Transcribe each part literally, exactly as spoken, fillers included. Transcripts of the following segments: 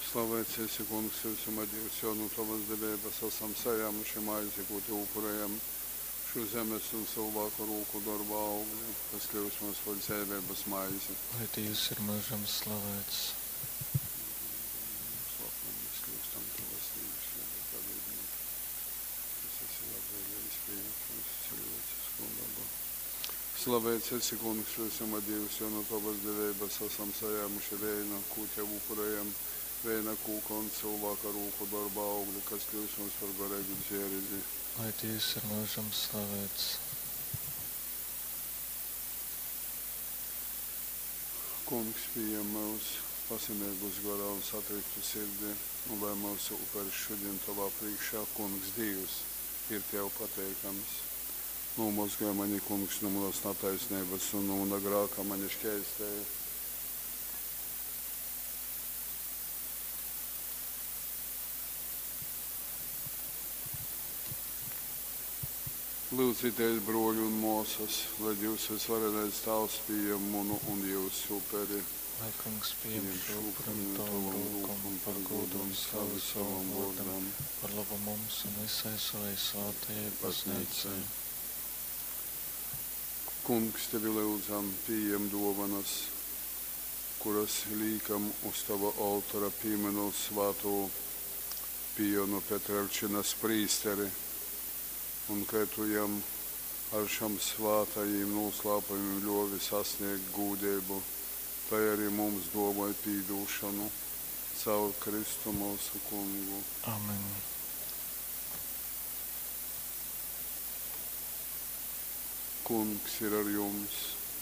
Slavēts esi, Kungs, visuma Dīvs, jo nu Tovas deveibas asam sajāmuši maizi, kū Tev upurējam, šo zemes un cilvēku rūku dorba augli, kas kļūst mums par dzeiveibas maizi. Lai Dievs ir mūžam slavēts. Mēs kļūstam Tavas dalībnieki, kas esi labvēlīgs pieņemt mūsu cilvēcisko dabu. Slavēts esi, Kungs, visuma Dievs, jo no Tavas deveibas esam sajāmuši vēju, kū Tev upurējam, vēja kūka un cilvēka rūku darba augli, kas kļūst mums par garīgu dzērizi. Lai Dievs ir mūžam slavēts. Kungs, pieņem mūs pasimīgus garā un satriktu sirdi, un lai mūsu uperis šodien Tavā priekšā, Kungs Dievs, ir Tev pateikams. Nomozgāj mani, Kungs, no manas netaisnības un no mana grāka mani šķēstēja. Lūdzieties, broļi un māsas, lai Dievs visvarenais Tēvs pieņem manu un jūsu uperi. Lai Kungs pieņem šo upuri no tavam rūkam par godu un slavu savam vārdam, par labu mums un visai savai svētajai baznīcai. Kungs, tevi lūdzam, pieņem dovanas, kuras liekam uz tava oltora pieminot svēto Pijonu Petrelčinas prīsteri, un kai tu jam ar šam svētajiem noslēpumiem ļovi sasniegt gūdību, tai arī mums domāj pīdūšanu caur Kristu mūsu kungu. Amen. Kungs ir ar jums,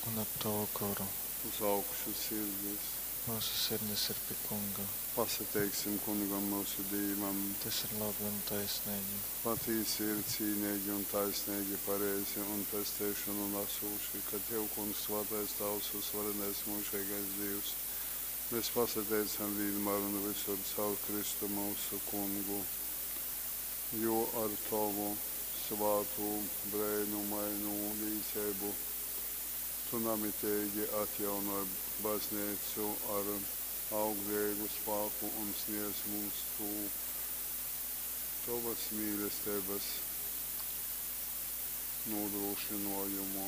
Un ar tavu goru. uz augšu sirdis. Mūsu sirdis ir pie Kunga. Pasateiksim kungam mūsu Dievam. Tas ir labi un taisnīgi. Patīsi ir cīnīgi un taisnīgi, pareizi un pesteišanu nesūši, ka Tev, Kungs, svētais Tavs, uzvarenais mūžīgais Dievs. Mēs pasateicam vienmēr un visur caur Kristu mūsu kungu, jo ar Tavu svātu brēnumainu līdzību Tu namitīgi atjaunoj baznīcu ar auglīgu spēku un sniedz mums tu Tavas mīlestības nodrošinājumu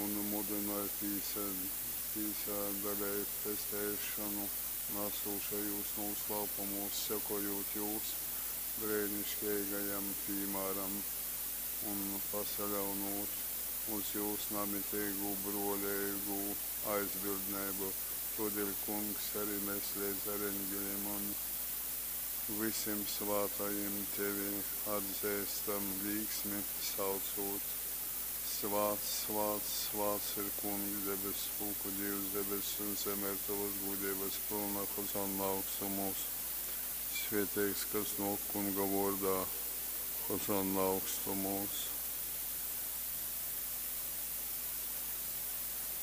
un mudināja pīsādalēt pesteišanu nesošajos noslēpumos, sekojot jūs brēnišķīgajam piemēram un pasaļaunot uz jūsu namitīgu brolīgu aizbildnību. Todēļ, Kungs, arī mēs līdz ar eņģeļiem un visiem svētajiem tevi atzīstam līksmi saucot. Svāts, svāts, svāts ir Kungs, debesu pulku Dievs, debesis un zeme ir tavas gudrības pilna, Hozanna augstumos. Svētīgs, kas nāk Kunga vārdā, Hozanna augstumos.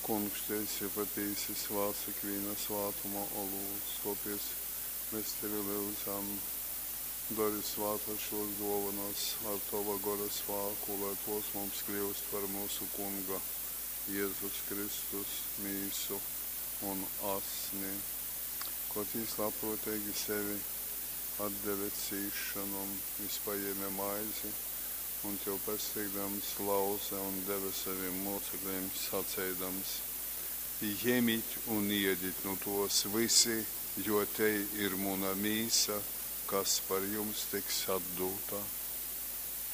Kungs, tu esi patiesi svāts ikviena svātuma olūts, topies mēs tevi lūdzam. Dari svātas šos dovanas ar tava gara spēku, lai tos mums kļūst par mūsu Kunga Jēzus Kristus mīsu un asni. Kaut viņš labprātīgi sevi atdeve cīšanom, viņš paņēma maizi un tev pasteigdams lauze un deva saviem mocekļiem sacēdams: Ņemiet un iediet no tos visi, jo te ir mana mīsa, kas par jums tiks atdota.